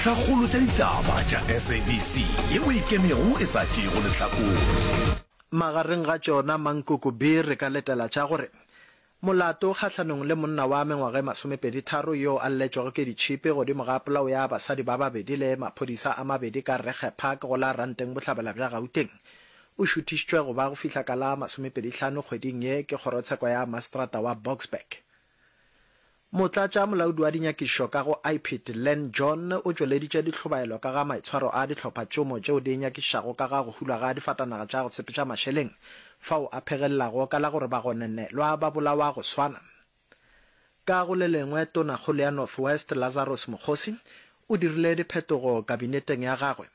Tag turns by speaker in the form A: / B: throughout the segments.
A: Dintlhakgolo tša ditaba tša SABC yeo e ikemego e sa tšeego lehlakore.
B: Magareng ga tšona Mankoko Bee re ka letela tša gore molato kgahlanong le monna wa mengwaga e masomepeditharo yoo a lletšwego ke ditšhipi godimo ga polao ya basadi ba babedi le maphodisa a mabedi ka Regge Park go la Ranteng Bohlabela bja Gauteng o šuthišitšwe go ba go fihla ka la masomepedihlano kgweding ye ke kgorotsheko ya maseterata wa Boksburg. Motlatša molaodi wa dinyakišišo ka go IPID, Len John, o tšweleditše dihlobaelo ka ga maitshwaro a dihlophatšomo tšeo di nyakišišago ka ga go hulwa ga difatanaga tša go sepetša mašeleng, fao a phegelelago ka la gore bagononelwa ba bolawa go swana. Ka go le lengwe, Tonakgolo ya North West, Lazarus Mokgosi, o dirile diphetogo kabineteng ya gagwe.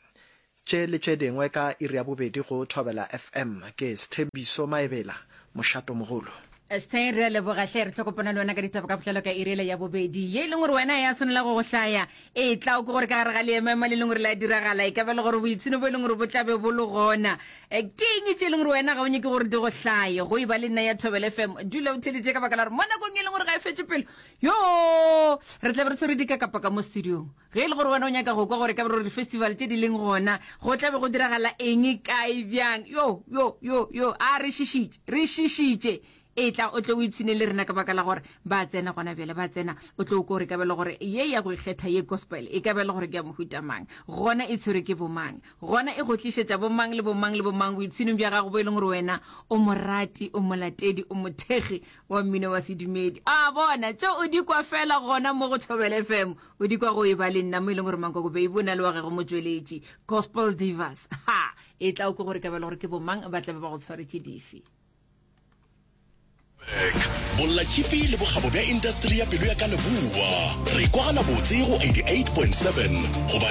B: Tše le tše dingwe ka iri ya bobedi go Thobela FM. Ke Sthembiso Maebela, mošatomogolo.
C: Sthe, re a leboga hle. Re tlo kopana le wena ka ditaba ka botlalo ka iri yela ya bobedi. Ye e leng gore wena ya swanela go go hlaya e tla o ke gore ka gare ga leemaema le leng gore le a diragala e ka ba le gore boipshino bo e leng gore bo tla be bo le gona. Eh, ke eng tše e leng gore wena ga o nyake gore di go hlaye go e ba le nna ya Thobela FM. Dula o theletše ka baka la gore mo nakong e leng gore ga e fetše pelo yo re tla be re tshwere dikakapa ka mo studiong. Ge e le gore wena o nyaka go kwa gore ka gore di-festival tše di leng gona go tla be go diragala eng, kae, bjang, yo, yo, yo, yo, a re šišitše, re šišitše. Etla o tle o ipshine le rena ka baka la gore ba tsena gona bjale, ba tsena, o tlo kwa gore e ka ba le gore ye ya go ikgetha ye gospel e ka ba le gore ke ya mohuta mang, gona e tshwerwe ke bomang, gona e go tlišetša bomang le bomang le bomang boipshinong bja gago bo e leng gore wena o morati, o molatedi, o mothekgi wa mmino wa sedumedi. A bona, tše o di kwa fela gona mo go Thobela FM. O di kwa go e ba le nna mo e leng gore Mankoko Babe o na le wa gagwe motšweletši, Gospel Divas. Ha! E tla o kwe gore ka ba le gore ke bomang ba tla be ba go tshwaretše dife.
A: Bollatšhipi le bokgabo bja indasteri ya pelo ya ka leboa. Re kwagala botse go 88.7 goba.